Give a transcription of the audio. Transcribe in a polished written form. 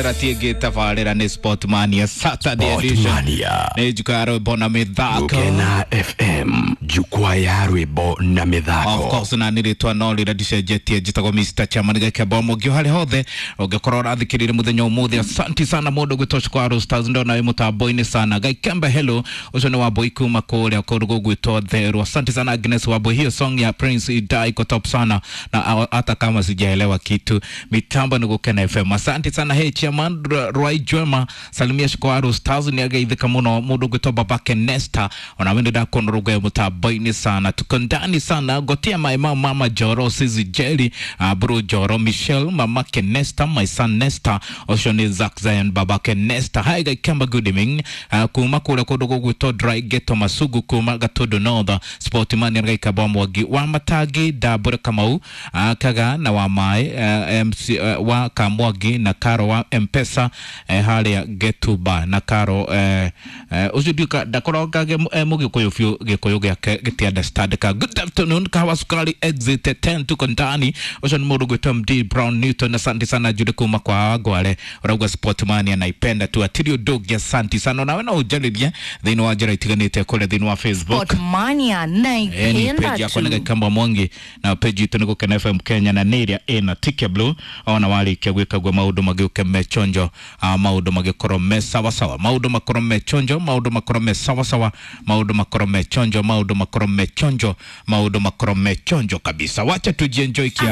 Ratiä tabarä nä Sportmania Saturday edition Sportmania. nä njuka ya rwä na mä thako. Gukena FM, jukwaa ya rwimbo na Of mithako. course, na nä rä twa no rä rä ndicenjetie, njätagwo Mr. Chairman Gakemba Mũngĩ harä hothe ũngĩkorwo ũrathikĩrĩria mũthenya ũmũthĩ. Asanti sana mũndũ gwĩtwo Shukuru Stars, ndona wĩ mũtambo-inĩ sana. Gaikembe hello, ũcio nĩ Wambui kuma kũrĩa kũndũ gũgwĩtwo Theru. Asante sana Agnes Wambui, hiyo song ya Prince Idai iko top sana na hata kama sijaelewa kitu, mitambo ni Gukena FM. Asante sana. Hey Chairman Rwai Jwema, salimia Shukuru Stars, nĩ ageithĩka mũno mũndũ gwĩtwo babake Nesta, ona we ndĩrakuona rũgwe mũtambo-inĩ sana, tuko ndani sana. Gotia my mama, mama Joro, Sizi Jerry, bro Joro, Michelle, mamake Nesta, my son Nesta, ũcio nĩ Zack Zion, babake Nesta. Hi Gaikamba, good evening. Kuma kũrĩa kũndũ gũgwĩtwo Dry Ghetto Masugu, kuma Gatundu North, Sportman Gaikamba Mwangi wa Matangi, Ndambũre Kamau, Kaga na wa Maĩ, MC, wa Kamwangi na Karo wa Mpesa, harĩa Getuba na Karo, ũcio ndiũka ndakorangage mũgĩkũyũ biũ, gĩkũyũ gĩake gĩti understand ka. Good afternoon, kahawa sukari exit 10, tuko ndani. Ũcio nĩ mũndũ gwĩtwo MD Brown Newton, asante sana Jude kuma kwa Wangware, ũrauga Sportmania naipenda tu atiri ũndũ ũngĩ. Asante sana, nawe no ũnjarĩrie thĩinĩ wa njĩra itiganĩte kũrĩa thĩinĩ wa Facebook. Sportmania Ni naipenda page yakwa nĩ tu. Gakamba Mwangi na page itũ nĩ Gukena FM Kenya na nĩ ĩrĩa ĩna tike blue ona warĩkia gwĩka guo maũndũ magĩũke me chonjo, maũndũ magĩkorwo me sawasawa, maũndũ makorwo me chonjo, maũndũ makorwo me sawasawa, maũndũ makorwo me chonjo, maũndũ makorwo me chonjo, maũndũ makorwo me chonjo kabisa. Wacha tujienjoy kia.